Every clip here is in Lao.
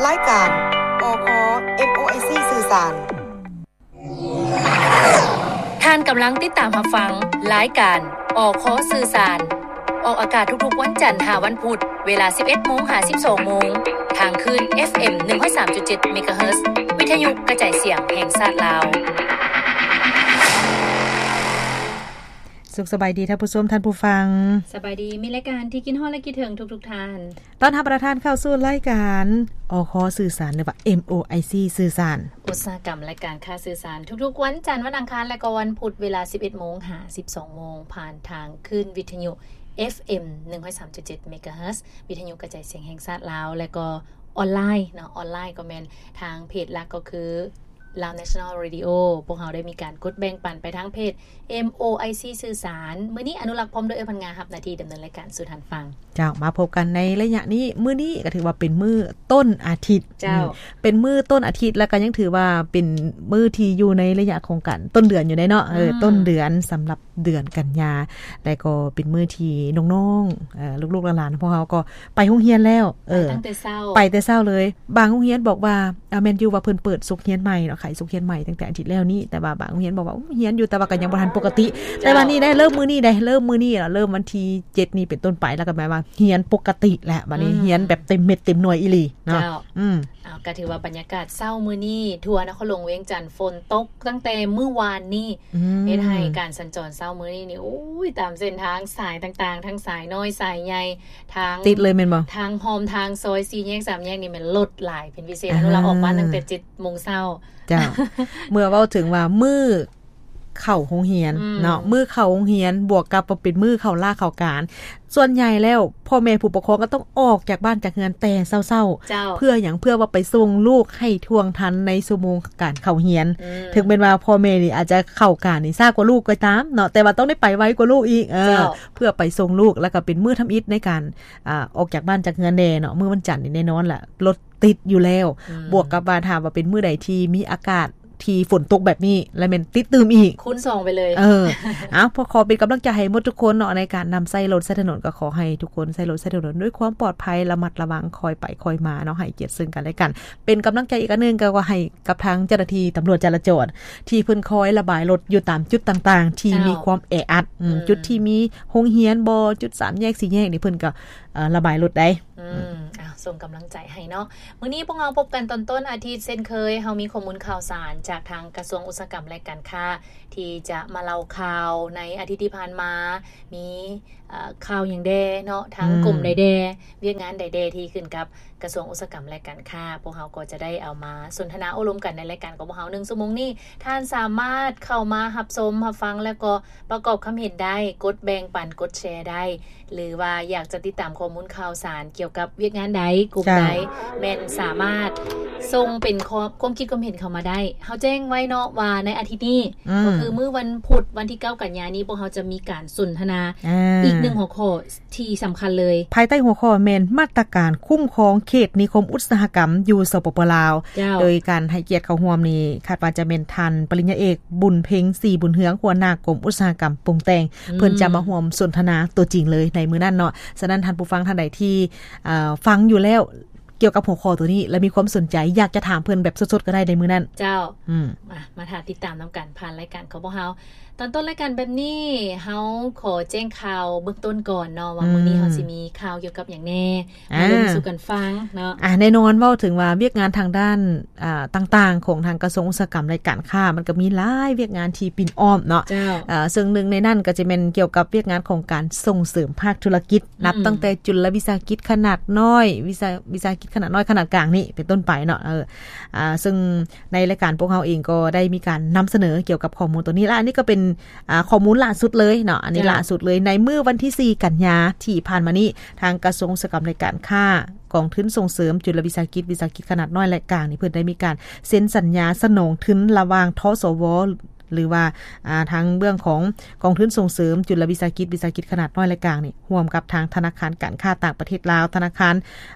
ລາຍການ ອຄ ເອັມໂອໄອຊີ ສື່ສານ. ທ່ານກຳລັງຕິດຕາມຮັບຟັງລາຍການ ອຄ ສື່ສານ ອອກອາກາດທຸກໆວັນຈັນຫາວັນພຸດ ເວລາສິບເອັດໂມງຫາສິບສອງໂມງ ທາງຄື້ນ ເອັຟເອັມ ໜຶ່ງຮ້ອຍສາມຈຸດເຈັດ ເມກາເຮີດ ວິທະຍຸກະຈາຍສຽງແຫ່ງຊາດລາວ. ສຸກສະບາຍດີທ່ານຜູ້ຊົມ, ທ່ານຜູ້ຟັງ. ສະບາຍດີ, ມີລາຍການທີ່ຄິດຮອດ ແລະ ຄິດເຖິງທຸກໆທ່ານ. ຕ້ອນຮັບທ່ານເຂົ້າສູ່ລາຍການ ອຄ ສື່ສານ ຫຼືວ່າ ເອັມໂອໄອຊີ ສື່ສານ. ອຸດສາຫະກຳ ແລະ ການຄ້າສື່ສານ ທຸກໆວັນຈັນ, ວັນອັງຄານ ແລະ ກໍວັນພຸດ ເວລາສິບເອັດໂມງຫາສິບສອງໂມງ ຜ່ານທາງຄື້ນວິທະຍຸ ເອັຟເອັມ ໜຶ່ງຮ້ອຍສາມຈຸດເຈັດ ເມກາເຮີດ ວິທະຍຸກະຈາຍສຽງແຫ່ງຊາດລາວ ແລະ ກໍອອນລາຍເນາະ, ອອນລາຍກໍແມ່ນທາງເພຈຫຼັກກໍຄື Lao National Radio. ພວກເຮົາໄດ້ມີການກົດແບ່ງປັນໄປທາງເພຈ ເອັມໂອໄອຊີ ສື່ສານ. ມື້ນີ້ອະນຸລັກພ້ອມດ້ວຍເອື້ອຍພັນງາ ຮັບໜ້າທີ່ດຳເນີນລາຍການສູ່ທ່ານຟັງ. ເຈົ້າ, ມາພົບກັນໃນໄລຍະນີ້, ມື້ນີ້ກໍຖືວ່າເປັນມື້ຕົ້ນອາທິດ. ເຈົ້າ. ອືມ, ເປັນມື້ຕົ້ນອາທິດ ແລ້ວກໍຍັງຖືວ່າເປັນມື້ທີ່ຢູ່ໃນໄລຍະຂອງການຕົ້ນເດືອນຢູ່ເດ້ເນາະ. ເອີ, ອືມ, ຕົ້ນເດືອນສຳລັບເດືອນກັນຍາ ແລະ ກໍເປັນມື້ທີ່ນ້ອງໆ ເອີ, ລູກໆຫຼານໆ ພວກເຮົາກໍໄປໂຮງຮຽນແລ້ວ. ເອີ, ໄປຕັ້ງແຕ່ເຊົ້າ, ໄປແຕ່ເຊົ້າເລີຍ. ບາງໂຮງຮຽນບອກວ່າ ອ່າ ແມ່ນຢູ່ວ່າເພິ່ນເປີດສົກຮຽນໃໝ່ເນາະ, ຂາຍສົກຮຽນໃໝ່ຕັ້ງແຕ່ອາທິດແລ້ວນີ້, ແຕ່ວ່າບາງໂຮງຮຽນບອກວ່າ ໂອ້ ຮຽນຢູ່ ແຕ່ວ່າກໍຍັງບໍ່ທັນປົກກະຕິ. ເຈົ້າ. ແຕ່ວ່ານີ້ໄດ້ເລີ່ມມື້ນີ້ໄດ້, ເລີ່ມມື້ນີ້ລະ, ເລີ່ມວັນທີເຈັດນີ້ເປັນຕົ້ນໄປ ແລ້ວກໍແປວ່າຮຽນປົກກະຕິແລ້ວ. ບັດນີ້ ອືມ, ຮຽນແບບເຕັມເມັດເຕັມໜ່ວຍອີ່ຫຼີເນາະ. ເຈົ້າ. ອືມ, ເອົາ, ກໍຖືວ່າບັນຍາກາດເຊົ້າມື້ນີ້ ທົ່ວນະຄອນຫຼວງວຽງຈັນຝົນຕົກຕັ້ງແຕ່ມື້ວານນີ້. ອືມ, ເຮັດໃຫ້ການສັນຈອນເຊົ້າມື້ນີ້ນີ້ ໂອ້ຍ, ຕາມເສັ້ນທາງສາຍຕ່າງໆ ທັງສາຍນ້ອຍສາຍໃຫຍ່ ທາງ ຕິດເລີຍແມ່ນບໍ່? ທາງຮ່ອມທາງຊອຍ ສີ່ແຍກສາມແຍກນີ້ແມ່ນລົດຫຼາຍເປັນພິເສດ. ອ່າ, ເຮົາລາອອກມາຕັ້ງແຕ່ເຈັດໂມງເຊົ້າ. ເຈົ້າ. ເມື່ອເວົ້າເຖິງວ່າມື້ເຂົ້າໂຮງຮຽນ ອືມ, ເນາະ, ມື້ເຂົ້າໂຮງຮຽນ ບວກກັບວ່າເປັນມື້ເຂົ້າລາເຂົ້າການ, ສ່ວນໃຫຍ່ແລ້ວພໍ່ແມ່ຜູ້ປົກຄອງກໍຕ້ອງອອກຈາກບ້ານຈາກເຮືອນແຕ່ເຊົ້າໆ. ເຈົ້າ. ເພື່ອຫຍັງ? ເພື່ອວ່າໄປສົ່ງລູກໃຫ້ທ່ວງທັນໃນຊົ່ວໂມງການເຂົ້າຮຽນ. ອືມ, ເຖິງແມ່ນວ່າພໍ່ແມ່ນີ້ອາດຈະເຂົ້າການນີ້ຊ້າກວ່າລູກກໍຕາມເນາະ, ແຕ່ວ່າຕ້ອງໄດ້ໄປໄວກວ່າລູກອີກ. ເອີ, ເຈົ້າ. ເພື່ອໄປສົ່ງລູກ ແລ້ວກໍເປັນມື້ທຳອິດໃນການ ອ່າ ອອກຈາກບ້ານຈາກເຮືອນແດ່ເນາະ. ມື້ວັນຈັນນີ້ແນ່ນອນລະ ລົດຕິດຢູ່ແລ້ວ. ອືມ, ບວກກັບວ່າຖ້າວ່າເປັນມື້ໃດທີ່ມີອາກາດທີ່ຝົນຕົກແບບນີ້ ລະແມ່ນຕິດຕື່ມອີກ ຄູນສອງໄປເລີຍ. ເອີ, ເອົາ, ຂໍເປັນກຳລັງໃຈໃຫ້ໝົດທຸກຄົນເນາະ ໃນການນຳໃຊ້ລົດໃຊ້ຖະໜົນ. ກໍຂໍໃຫ້ທຸກຄົນໃຊ້ລົດໃຊ້ຖະໜົນດ້ວຍຄວາມປອດໄພ, ລະມັດລະວັງ, ຄ່ອຍໄປຄ່ອຍມາເນາະ, ໃຫ້ກຽດເຊິ່ງກັນແລະກັນ. ເປັນກຳລັງໃຈອີກອັນໜຶ່ງ ກໍຂໍໃຫ້ ກັບທາງເຈົ້າໜ້າທີ່ຕຳຫຼວດຈະລາຈອນ ທີ່ເພິ່ນຄອຍລະບາຍລົດຢູ່ຕາມຈຸດຕ່າງໆ ທີ່ ເຈົ້າ ມີຄວາມແອອັດ, ອືມ, ອືມ, ຈຸດທີ່ມີໂຮງຮຽນບໍ, ຈຸດສາມແຍກ ສີ່ແຍກນີ້ ເພິ່ນກໍ ເອີ ລະບາຍລົດໄດ້. ອືມ, ອືມ, ອ່າ, ສົ່ງກຳລັງໃຈໃຫ້ເນາະ. ມື້ນີ້ພວກເຮົາພົບກັນຕອນຕົ້ນອາທິດເຊັ່ນເຄີຍ, ເຮົາມີຂໍ້ມູນຂ່າວສານຈາກທາງກະຊວງອຸດສາຫະກຳ ແລະ ການຄ້າ ທີ່ຈະມາເລົ່າຂ່າວໃນອາທິດທີ່ຜ່ານມາ, ມີ ເອີ ຂ່າວຫຍັງແດ່ເນາະ, ທາງ ອືມ, ກົມໃດແດ່, ວຽກງານໃດແດ່ທີ່ຂຶ້ນກັບກະຊວງອຸດສາຫະກຳ ແລະ ການຄ້າ. ພວກເຮົາກໍຈະໄດ້ເອົາມາສົນທະນາໂອ້ລົມກັນໃນລາຍການຂອງພວກເຮົາ ໜຶ່ງຊົ່ວໂມງນີ້. ທ່ານສາມາດເຂົ້າມາຮັບຊົມ, ຮັບຟັງ ແລ້ວກໍປະກອບຄຳເຫັນໄດ້, ກົດແບ່ງປັນ, ກົດແຊໄດ້, ຫຼືວ່າຢາກຈະຕິດຕາມຂໍ້ມູນຂ່າວສານກ່ຽວກັບວຽກງານໃດ, ກຸ່ມໃດ, ເຈົ້າ, ແມ່ນສາມາດສົ່ງເປັນຄວາມ, ຄວາມຄິດຄວາມເຫັນເຂົ້າມາໄດ້. ເຮົາແຈ້ງໄວ້ເນາະວ່າໃນອາທິດນີ້, ອືມ, ກໍຄືມື້ວັນພຸດ ວັນທີເກົ້າກັນຍານີ້, ພວກເຮົາຈະມີການສົນທະນາ ອ່າ, ອີກໜຶ່ງຫົວຂໍ້ ທີ່ສຳຄັນເລີຍ ພາຍໃຕ້ຫົວຂໍ້ແມ່ນມາດຕະການຄຸ້ມຄອງເຂດນິຄົມອຸດສາຫະກຳຢູ່ ສປປ ລາວ. ເຈົ້າ. ໂດຍການໃຫ້ກຽດເຂົ້າຮ່ວມນີ້ ຄາດວ່າຈະແມ່ນທ່ານປະລິນຍາເອກ ບຸນເພັງ ສີບຸນເຮືອງ ຫົວໜ້າກົມອຸດສາຫະກຳປຸງແຕ່ງ. ອືມ. ເພິ່ນຈະມາຮ່ວມສົນທະນາຕົວຈິງເລີຍໃນມື້ນັ້ນເນາະ. ສະນັ້ນທ່ານຜູ້ຟັງທ່ານໃດທີ່ ເອີ ຟັງຢູ່ແລ້ວ ກ່ຽວກັບຫົວຂໍ້ຕົວນີ້ ແລະ ມີຄວາມສົນໃຈ ຢາກຈະຖາມເພິ່ນແບບສົດໆກໍໄດ້ໃນມື້ນັ້ນ. ເຈົ້າ. ອືມ. ມາ, ມາຖ້າຕິດຕາມນຳກັນຜ່ານລາຍການຂອງພວກເຮົາ. ຕອນຕົ້ນລາຍການແບບນີ້ ເຮົາຂໍແຈ້ງຂ່າວເບື້ອງຕົ້ນກ່ອນເນາະ ວ່າ ອືມ, ມື້ນີ້ເຮົາຊິມີຂ່າວກ່ຽວກັບຫຍັງແດ່ ອ່າ, ມາເລົ່າສູ່ກັນຟັງເນາະ. ອ່າ, ແນ່ນອນ ເວົ້າເຖິງວ່າວຽກງານທາງດ້ານ ອ່າ, ຕ່າງໆ ຂອງທາງກະຊວງອຸດສາຫະກຳ ແລະ ການຄ້າ ມັນກໍມີຫຼາຍວຽກງານທີ່ປິ່ນອ້ອມເນາະ. ເຈົ້າ. ເອີ, ເຊິ່ງໜຶ່ງໃນນັ້ນກໍຈະແມ່ນກ່ຽວກັບວຽກງານຂອງການສົ່ງເສີມພາກທຸລະກິດ ອືມ, ນັບຕັ້ງແຕ່ຈຸລະວິສາຫະກິດຂະໜາດນ້ອຍ, ວິສາ, ວິສາຫະກິດຂະໜາດນ້ອຍ, ຂະໜາດກາງນີ້ເປັນຕົ້ນໄປເນາະ. ເອີ, ອ່າ, ເຊິ່ງ ໃນລາຍການພວກເຮົາເອງກໍໄດ້ມີການນຳສະເໜີກ່ຽວກັບຂໍ້ມູນຕົວນີ້ ແລະ ອັນນີ້ກໍເປັນ, ອ່າ, ຂໍ້ມູນລ່າສຸດເລີຍເນາະ, ອັນນີ້ ເຈົ້າ, ລ່າສຸດເລີຍ. ໃນມື້ວັນທີສີ່ກັນຍາທີ່ຜ່ານມານີ້ ທາງກະຊວງອຸດສາຫະກຳ ແລະ ການຄ້າ, ກອງທຶນສົ່ງເສີມຈຸລະວິສາຫະກິດ, ວິສາຫະກິດຂະໜາດນ້ອຍ ແລະ ກາງນີ້ ເພິ່ນໄດ້ມີການເຊັນສັນຍາສະໜອງທຶນລະຫວ່າງ ທສວ ຫຼືວ່າ ອ່າ ທາງເບື້ອງຂອງກອງທຶນສົ່ງເສີມຈຸນລະວິສາຫະກິດ ວິສາຫະກິດຂະໜາດນ້ອຍ ແລະ ກາງນີ້ ຮ່ວມກັບທາງທະນາຄານການຄ້າຕ່າງປະເທດລາວ, ທະນາຄານ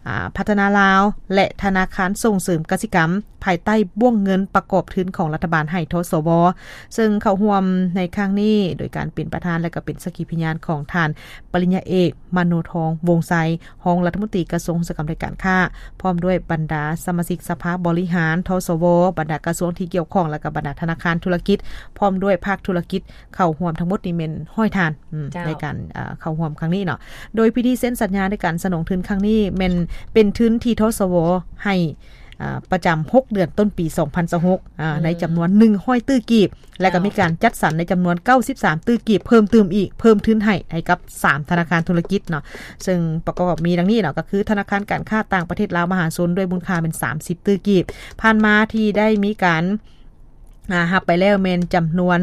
ອ່າ ພັດທະນາລາວ ແລະ ທະນາຄານສົ່ງເສີມກະສິກຳ ພາຍໃຕ້ບ້ວງເງິນປະກອບທຶນຂອງລັດຖະບານໃຫ້ ທສວ ເຊິ່ງເຂົ້າຮ່ວມໃນຄັ້ງນີ້ ໂດຍການເປັນປະທານ ແລະ ກໍເປັນສັກຂີພະຍານຂອງທ່ານ ປະລິນຍາເອກ ມະໂນທອງ ວົງໄຊ ຮອງລັດຖະມົນຕີກະຊວງອຸດສາຫະກຳ ແລະ ການຄ້າ ພ້ອມດ້ວຍບັນດາສະມາຊິກສະພາບໍລິຫານ ທສວ, ບັນດາກະຊວງທີ່ກ່ຽວຂ້ອງ ແລະ ກໍບັນດາທະນາຄານທຸລະກິດ ພ້ອມດ້ວຍພາກທຸລະກິດ ເຂົ້າຮ່ວມທັງໝົດນີ້ແມ່ນຮ້ອຍທ່ານ ອືມ ເຈົ້າ ໃນການ ເອີ ເຂົ້າຮ່ວມຄັ້ງນີ້ເນາະ. ໂດຍພິທີເຊັນສັນຍາໃນການສະໜອງທຶນຄັ້ງນີ້ ແມ່ນເປັນທຶນທີ່ ທສວ ໃຫ້ ອາ ປະຈຳຫົກເດືອນຕົ້ນປີສອງພັນຊາວຫົກ ອາ ອືມ ໃນຈຳນວນໜຶ່ງຮ້ອຍຕື້ກີບ ແລະ ກໍ ເຈົ້າ ມີການຈັດສັນໃນຈຳນວນເກົ້າສິບສາມຕື້ກີບ ເພີ່ມຕື່ມອີກ ເພີ່ມທຶນໃຫ້ ໃຫ້ກັບສາມທະນາຄານທຸລະກິດເນາະ ເຊິ່ງປະກອບມີດັ່ງນີ້ເນາະ ກໍຄືທະນາຄານການຄ້າຕ່າງປະເທດລາວມະຫາຊົນ ດ້ວຍມູນຄ່າແມ່ນສາມສິບຕື້ກີບ ຜ່ານມາທີ່ໄດ້ມີການ ອາ ຮັບໄປແລ້ວແມ່ນຈຳນວນ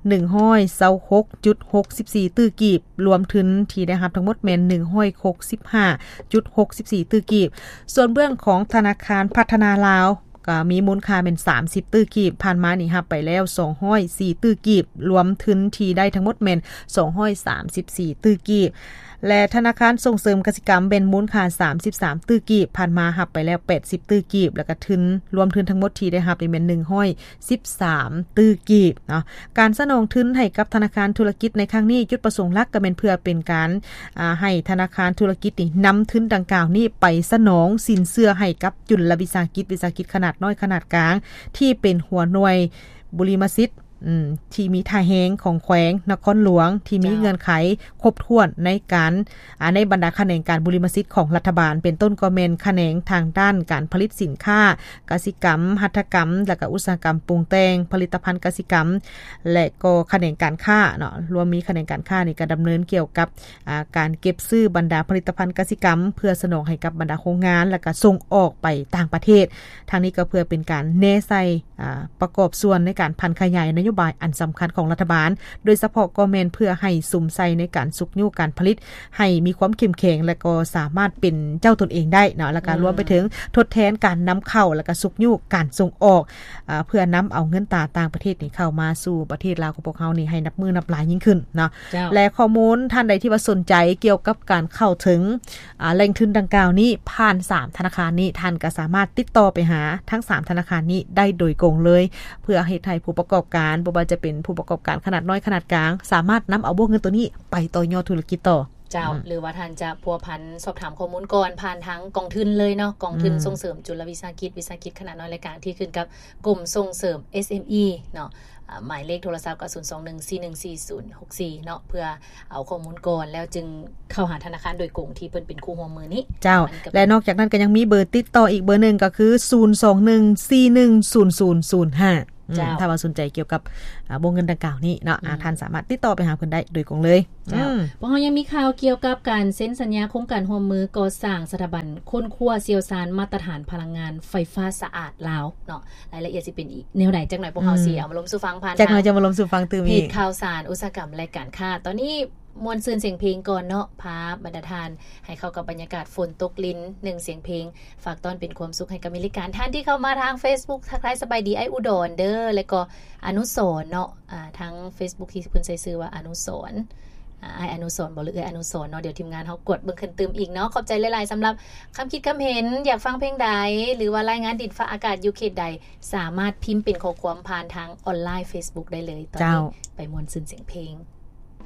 ໜຶ່ງຮ້ອຍຊາວຫົກຈຸດຫົກສິບສີ່ຕື້ກີບ ລວມທຶນທີ່ໄດ້ຮັບທັງໝົດແມ່ນໜຶ່ງຮ້ອຍຫົກສິບຫ້າຈຸດຫົກສິບສີ່ຕື້ກີບ. ສ່ວນເບື້ອງຂອງທະນາຄານພັດທະນາລາວ ກໍມີມູນຄ່າແມ່ນສາມສິບຕື້ກີບ ຜ່ານມານີ້ຮັບໄປແລ້ວສອງຮ້ອຍສີ່ຕື້ກີບ ລວມທຶນທີ່ໄດ້ທັງໝົດແມ່ນສອງຮ້ອຍສາມສິບສີ່ຕື້ກີບ ແລະ ທະນາຄານສົ່ງເສີມກະສິກຳແມ່ນມູນຄ່າສາມສິບສາມຕື້ກີບ ຜ່ານມາຮັບໄປແລ້ວແປດສິບຕື້ກີບ ແລ້ວກໍທຶນ ລວມທຶນທັງໝົດທີ່ໄດ້ຮັບນີ້ແມ່ນໜຶ່ງຮ້ອຍສິບສາມຕື້ກີບເນາະ. ການສະໜອງທຶນໃຫ້ກັບທະນາຄານທຸລະກິດໃນຄັ້ງນີ້ ຈຸດປະສົງຫຼັກກໍແມ່ນເພື່ອເປັນການ ອາ ໃຫ້ທະນາຄານທຸລະກິດນີ້ນຳທຶນດັ່ງກ່າວນີ້ໄປສະໜອງສິນເຊື່ອໃຫ້ກັບຈຸນລະວິສາຫະກິດ ວິສາຫະກິດຂະໜາດນ້ອຍ ຂະໜາດກາງ ທີ່ເປັນຫົວໜ່ວຍບຸລິມະສິດ ອືມ ທີ່ມີທ່າແຮງຂອງແຂວງນະຄອນຫຼວງ ທີ່ມີ ເຈົ້າ ເງື່ອນໄຂຄົບຖ້ວນໃນການ ອາ ໃນບັນດາຂະແໜງການບຸລິມະສິດຂອງລັດຖະບານ ເປັນຕົ້ນກໍແມ່ນຂະແໜງທາງດ້ານການຜະລິດສິນຄ້າກະສິກຳ, ຫັດຖະກຳ ແລະ ກະອຸດສາຫະກຳປຸງແຕ່ງ, ຜະລິດຕະພັນກະສິກຳ ແລະ ກໍຂະແໜງການຄ້າເນາະ. ລວມມີຂະແໜງການຄ້ານີ້ກໍດຳເນີນກ່ຽວກັບ ອາ ການເກັບຊື້ບັນດາຜະລິດຕະພັນກະສິກຳ ເພື່ອສະໜອງໃຫ້ກັບບັນດາໂຮງງານ ແລະ ກະສົ່ງອອກໄປຕ່າງປະເທດ. ທາງນີ້ກໍເພື່ອເປັນການແນໃສ່ ອາ ປະກອບສ່ວນໃນການຜັນຂະຫຍາຍນະໂຍບາຍອັນສຳຄັນຂອງລັດຖະບານ ໂດຍສະເພາະກໍແມ່ນເພື່ອໃຫ້ສຸມໃສ່ໃນການຊຸກຍູ້ການຜະລິດ ໃຫ້ມີຄວາມເຂັ້ມແຂງ ແລະ ກໍສາມາດເປັນເຈົ້າຕົນເອງໄດ້ເນາະ ແລະ ກໍ ອືມ ລວມໄປເຖິງທົດແທນການນຳເຂົ້າ ແລະ ກໍຊຸກຍູ້ການສົ່ງອອກ ອາ ເພື່ອນຳເອົາເງິນຕາຕ່າງປະເທດນີ້ເຂົ້າມາສູ່ປະເທດລາວຂອງພວກເຮົານີ້ໃຫ້ນັບມື້ນັບຫຼາຍຍິ່ງຂຶ້ນເນາະ. ເຈົ້າ. ແລະ ຂໍ້ມູນທ່ານໃດທີ່ວ່າສົນໃຈກ່ຽວກັບການເຂົ້າເຖິງ ອາ ແຫຼ່ງທຶນດັ່ງກ່າວນີ້ ຜ່ານສາມທະນາຄານນີ້ ທ່ານກໍສາມາດຕິດຕໍ່ໄປຫາທັງສາມທະນາຄານນີ້ໄດ້ໂດຍກົງເລີຍ ເພື່ອເຮັດໃຫ້ຜູ້ປະກອບການ ບໍ່ວ່າຈະເປັນຜູ້ປະກອບການຂະໜາດນ້ອຍ ຂະໜາດກາງ ສາມາດນຳເອົາວົງເງິນໂຕນີ້ໄປຕໍ່ຍອດທຸລະກິດຕໍ່. ເຈົ້າ. ອືມ. ຫຼືວ່າທ່ານຈະພົວພັນສອບຖາມຂໍ້ມູນກ່ອນ ຜ່ານທາງກອງທຶນເລີຍເນາະ ກອງທຶນ ອືມ ສົ່ງເສີມຈຸນລະວິສາຫະກິດ ວິສາຫະກິດຂະໜາດນ້ອຍ ແລະ ກາງ ທີ່ຂຶ້ນກັບກົມສົ່ງເສີມ ເອສເອັມອີ ເນາະ. ອາ ໝາຍເລກໂທລະສັບກໍ ສູນສອງໜຶ່ງ ສີ່ໜຶ່ງສີ່ ສູນຫົກສີ່ ເນາະ ເພື່ອເອົາຂໍ້ມູນກ່ອນ ແລ້ວຈຶ່ງເຂົ້າຫາທະນາຄານໂດຍກົງທີ່ເພິ່ນເປັນຄູ່ຮ່ວມມືນີ້. ເຈົ້າ. ແລະ ນອກຈາກນັ້ນກໍຍັງມີເບີຕິດຕໍ່ອີກເບີໜຶ່ງ ກໍຄື ສູນສອງໜຶ່ງ ສີ່ໜຶ່ງ ສູນສູນ ສູນຫ້າ. ອືມ. ເຈົ້າ. ຖ້າວ່າສົນໃຈກ່ຽວກັບ ອາ ວົງເງິນດັ່ງກ່າວນີ້ເນາະ ອືມ ອາ ທ່ານສາມາດຕິດຕໍ່ໄປຫາເພິ່ນໄດ້ໂດຍກົງເລີຍ. ເຈົ້າ. ອືມ. ພວກເຮົາຍັງມີຂ່າວກ່ຽວກັບການເຊັນສັນຍາໂຄງການຮ່ວມມືກໍ່ສ້າງສະຖາບັນຄົ້ນຄວ້າຊ່ຽວຊານມາດຕະຖານພະລັງງານໄຟຟ້າສະອາດລາວເນາະ. ລາຍລະອຽດຊິເປັນອີກແນວໃດ ຈັກໜ່ອຍພວກເຮົາ ອືມ ຊິເອົາມາລົມສູ່ຟັງຜ່ານ ຈັກໜ່ອຍຈະມາລົມສູ່ຟັງຕື່ມອີກ ເພຈຂ່າວສານອຸດສາຫະກຳ ແລະ ການຄ້າ. ຕອນນີ້ມ່ວນຊື່ນສຽງເພງກ່ອນເນາະ ພາບັນດາທ່ານໃຫ້ເຂົ້າກັບບັນຍາກາດຝົນຕົກລິນ ໜຶ່ງສຽງເພງ ຝາກຕ້ອນເປັນຄວາມສຸກໃຫ້ກັບມິດລາຍການ. ທ່ານທີ່ເຂົ້າມາທາງເຟສບຸກ ທັກທາຍສະບາຍດີອ້າຍອຸດອນເດີ ແລະ ກໍອະນຸສອນເນາະ ອາ ທາງເຟສບຸກທີ່ເພິ່ນໃຊ້ຊື່ວ່າອະນຸສອນ ອາ ອ້າຍອະນຸສອນບໍ ຫຼື ເອື້ອຍອະນຸສອນເນາະ. ດຽວທີມງານເຮົາກວດເບິ່ງຂຶ້ນຕື່ມອີກເນາະ. ຂອບໃຈຫຼາຍໆ ສຳລັບຄຳຄິດຄຳເຫັນ ຢາກຟັງເພງໃດ ຫຼືວ່າລາຍງານດິນຟ້າອາກາດຢູ່ເຂດໃດ ສາມາດພິມເປັນຂໍ້ຄວາມຜ່ານທາງອອນລາຍເຟສບຸກໄດ້ເລີຍ. ຕອນນີ້ ເຈົ້າ ໄປມ່ວນຊື່ນສຽງເພງ.